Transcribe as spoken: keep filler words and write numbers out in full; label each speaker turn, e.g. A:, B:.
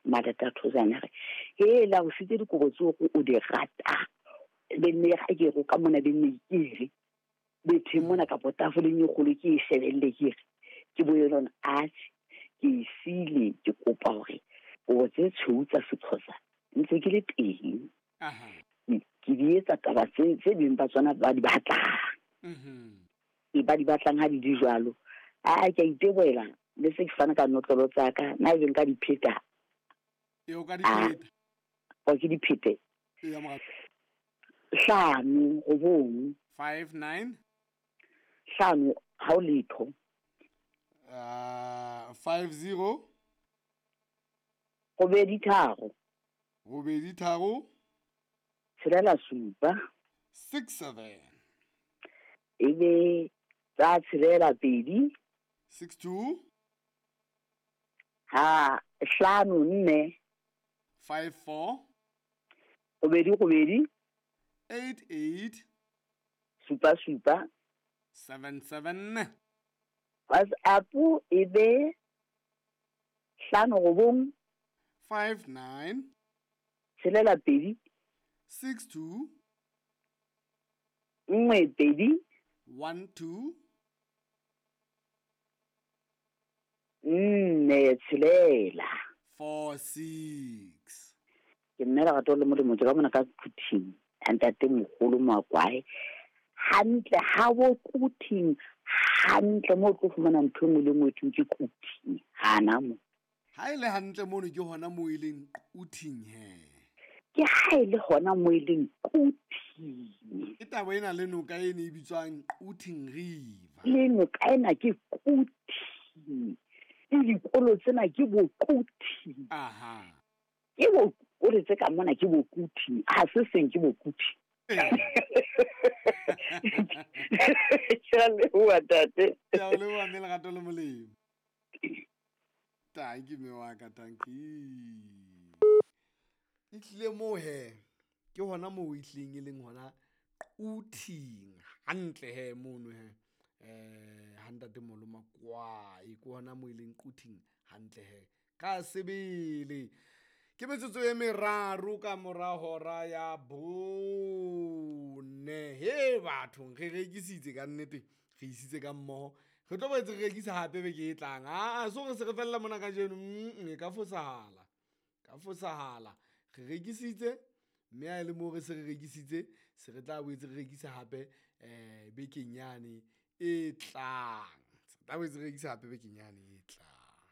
A: Malata Thozana re he la o sitse dikobo tseo o di rata be nne ga ke go ka mona be nne ke re bethe mona ka potafoleng e kgolo ke e shebelle ke re ke bo yona atjhe ke e sile ke kopa hore kobo tse tshweu tsa Sexhosa ntse ke le teng.
B: Aha.
A: Ke di etsa taba tse tse beng ba tsona ba di batlang.
B: Mhm.
A: E ba di batlang ha di di jwalo. A ke a iteboela le se ke fana ka notlolo tsa ka na ebe nka di pheta.
B: E o ka di pheta.
A: O ke di phete.
B: E ya morat.
A: Hlano robong.
B: five nine.
A: Hlano ha o letho.
B: Uh, five zero.
A: Robedi tharo.
B: Robedi tharo.
A: Tshelela supa.
B: six seven.
A: Ebe tsa tshelela pedi.
B: six two.
A: Ha hlano nne.
B: five four.
A: Robedi robedi.
B: eight eight.
A: Supa supa.
B: seven seven.
A: WhatsApp ebe hlano robong.
B: five nine.
A: Tshelela pedi.
B: six two.
A: Nngwe pedi.
B: one two.
A: Nne tshelela.
B: four six.
A: Ke nna Lerato le Molemo ke ka mona ka Quthing. Ntate moholo Makwae. Hantle ha bo Quthing hantle mo tlo fumana ntho e nngwe le nngwe thweng ke Quthing. Hana mo.
B: Ha ile hantle mono ke hona mo e leng Quthing he.
A: Ke ha ile hona mo e leng Quthing.
B: Ke taba ena le noka e ne e bitswang Quthing River.
A: Le noka ena ke Quthing. Le dikolo tsena ke bo Quthing.
B: Aha.
A: Ke bo o tse ka mona ke bo Quthing. Ha se seng ke bo Quthing. Ke a leboha ntate.
B: Ke a leboha mme Lerato le Molemo. Tanki mme wa ka, tanki. E tlile moo he, ke hona moo e tlileng e leng hona Quthing. Hantle he mono he. Eh, ha ntate Molo Makwae, ke hona moo e leng Quthing hantle he. Ka sebele. Ke metsotso e meraro ka mora hora ya bone. He bathong, re rekisitse ka nnete, re isitse ka mmoho. Re tlo boetse re rekisa hape beke e tlang. Ah, so re se re fella mona kajeno, mm, e ka fosahala. Ka fosahala. Re rekisitse, mme ha e le moo re se re rekisitse, se re tla boetse re rekisa hape, eh, bekeng yane e tlang. Se tla boetse re rekisa hape bekeng yane e tlang.